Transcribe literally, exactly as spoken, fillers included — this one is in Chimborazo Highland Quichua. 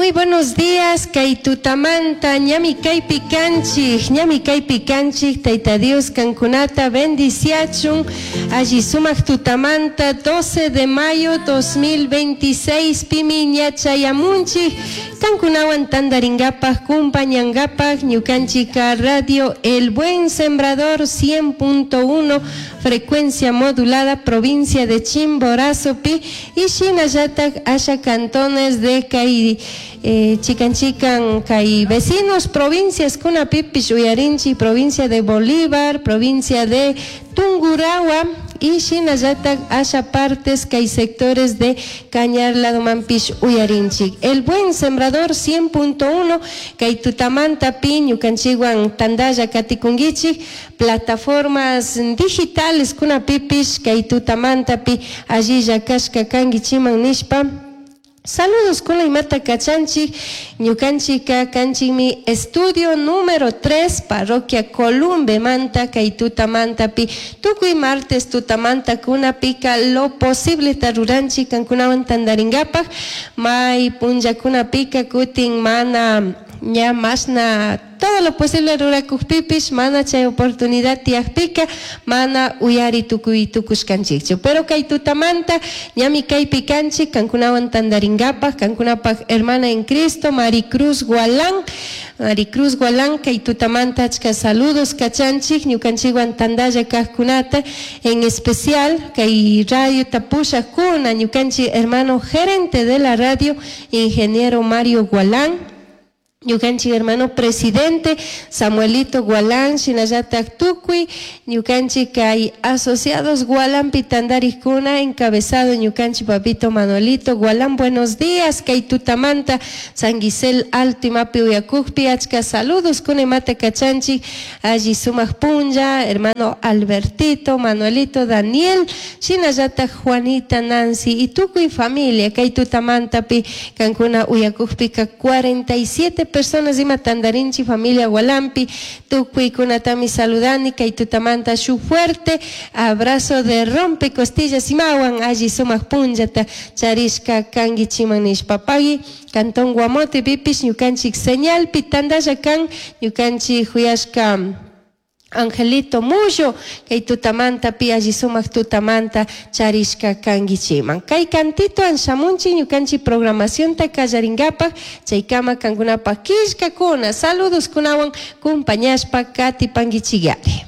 Muy buenos días, kay tutamanta, ñami kaypi kanchik, ñami kaypi kanchik, Tayta Dios kankunata bendiciachun, alli sumak tutamanta, doce de mayo dos mil veintiséis, pimi ña chayamunchik, kankunawan tandaringapaj, kumpañangapaj, ñukanchika Radio El Buen Sembrador cien punto uno, frecuencia modulada, provincia de Chimborazo pi, y shinallatak asha cantones de kay eh, chikan chikan kay vecinos provincias kunapipish uyarinchik, provincia de Bolívar, provincia de Tungurahua y shinallatak asha partes kay sectores de Cañar ladomanpish uyarinchik. El Buen Sembrador cien punto uno kay tutamanta pi ñukanchikwan tandalla katikunkichik, plataformas digitales kunapipish kay tutamanta pi allilla kashka kankichiman nishpa saludos con la imata kachanchik. Ñukanchika kanchikmi estudio número tres, parroquia Columbe manta, kay tutamanta pi tukuy martes tutamanta kunapika lo posible ruranchik kankunawan tandaringapaj. May punllakunapika kutin mana ña masna todo lo posible rurakukpipish, mana chay oportunidad tiyakpika mana uyari tukuy tukushkanchikchu, pero kay tutamanta ñami kaypi kanchik kankunawan tandaringapaj. Kankunapaj hermana en Cristo Maricruz Gualán, Maricruz Gualán, kay tutamanta achka saludos kachanchik ñukanchikwan tandalla kajkunata, en especial kay radio tapushakuna, ñukanchik hermano gerente de la radio, ingeniero Mario Gualán, ñukanchik hermano presidente Samuelito Gualán, shinallatak tukuy ñukanchik kay asociados Gualampi tandarikuna, encabezado ñukanchik papito Manuelito Gualán. Buenos días, kay tutamanta San Gisel Alto imapi uyakukpi achka saludos kuna imata kachanchik. Alli sumak punlla, hermano Albertito, Manuelito, Daniel, shinallatak Juanita, Nancy y tukuy familia. Kay tutamantapi kankuna uyakukpika cuarenta y siete personas ima tandarinchi familia Gualampi, tukuykunatami saludani kay tutamanta, shu fuerte abrazo de rompe costillas imawan alli sumak punllata charishka kankichiman nishpa. Pagui cantón Guamote pipish ñukanchik señalpi tandalla kan ñukanchik huyashka Angelito Mullo, kay tutamanta pi alli sumak tutamanta charishka kankichiman. Kay cantito shamunchik ñukanchik programacionta kallaringapaj, chaykama kankunapaj killkakuna, saludos kunawan kumpañashpa katipankichiyari.